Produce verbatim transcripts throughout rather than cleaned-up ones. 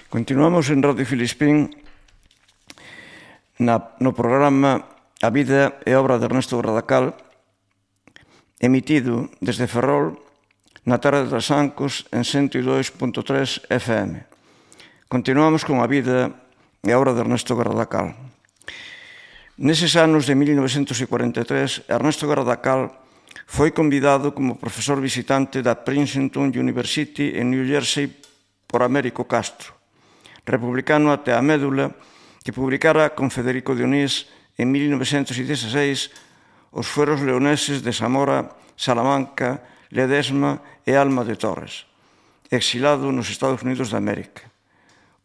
Continuamos en Radio Filispín na, no programa A vida e obra de Ernesto Gradacal, emitido desde Ferrol na tarde das Ancos en ciento dos punto tres F M. Continuamos con a vida e a obra de Ernesto Gradacal. Neses anos de mil novecentos cuarenta e tres, Ernesto Gradacal foi convidado como profesor visitante da Princeton University en New Jersey por Américo Castro, republicano até a médula, que publicara con Federico Dionís en mil novecentos dezasseis os fueros leoneses de Zamora, Salamanca, Ledesma e Alma de Torres, exilado nos Estados Unidos de América.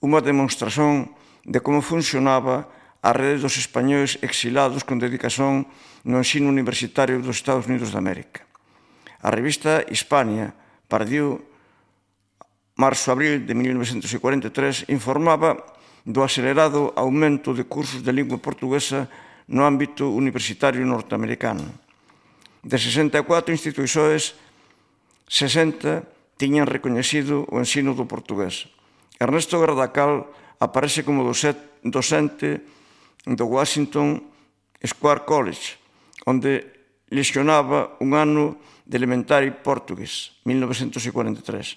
Unha demonstración de como funcionaba a rede dos españois exilados con dedicación no ensino universitario dos Estados Unidos de América. A revista Hispania, pardiu marzo-abril de mil novecentos cuarenta e tres, informaba do acelerado aumento de cursos de lingua portuguesa no ámbito universitario norteamericano. De sesenta e catro institucións, sesenta tiñan recoñecido o ensino do portugués. Ernesto Gradacal aparece como docente do Washington Square College, onde leccionaba un ano de elementary portugués, mil novecentos cuarenta e tres.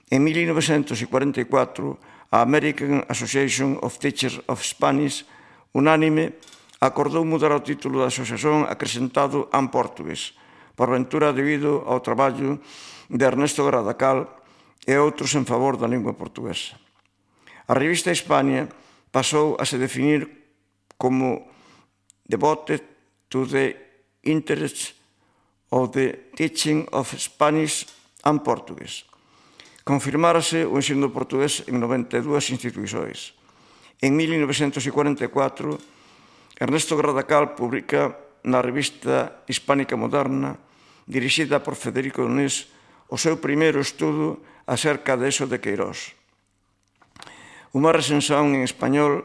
En mil novecentos cuarenta e catro, a American Association of Teachers of Spanish, unánime, acordou mudar o título da asociación acrescentado en portugués, por ventura debido ao traballo de Ernesto Gradacal e outros en favor da lingua portuguesa. A revista Hispania pasou a se definir como devoted to the interests of the teaching of Spanish and Portuguese. Confirmárase o ensino portugués en noventa e dúas institucións. En mil novecentos cuarenta e catro, Ernesto Gradacal publica na revista Hispánica Moderna, dirixida por Federico Dionís, o seu primeiro estudo acerca de Eso de Queirós. Unha recensión en español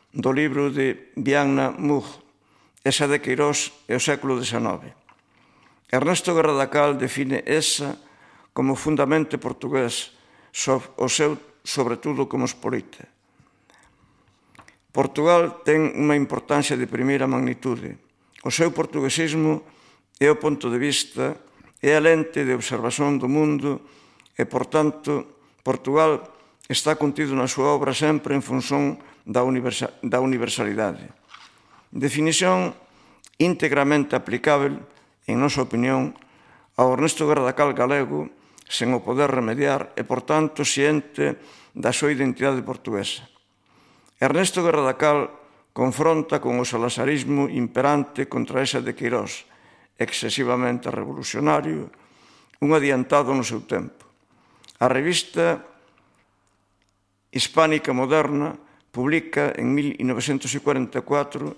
do libro de Vianna Mug, Esa de Queirós e o século dezenove. Ernesto Gradacal define esa como fundamento portugués, o seu, sobretudo, como espolita. Portugal ten unha importancia de primeira magnitude. O seu portuguesismo é o ponto de vista, é a lente de observación do mundo e, por tanto, Portugal está contido na súa obra sempre en función da universalidade. Definición íntegramente aplicável, en nosa opinión, ao Ernesto Gradacal galego, sen o poder remediar e, por tanto, ciente da súa identidade portuguesa. Ernesto Gradacal confronta con o salazarismo imperante contra esa de Queirós, excesivamente revolucionario, un adiantado no seu tempo. A revista Hispánica Moderna publica en mil novecentos cuarenta e catro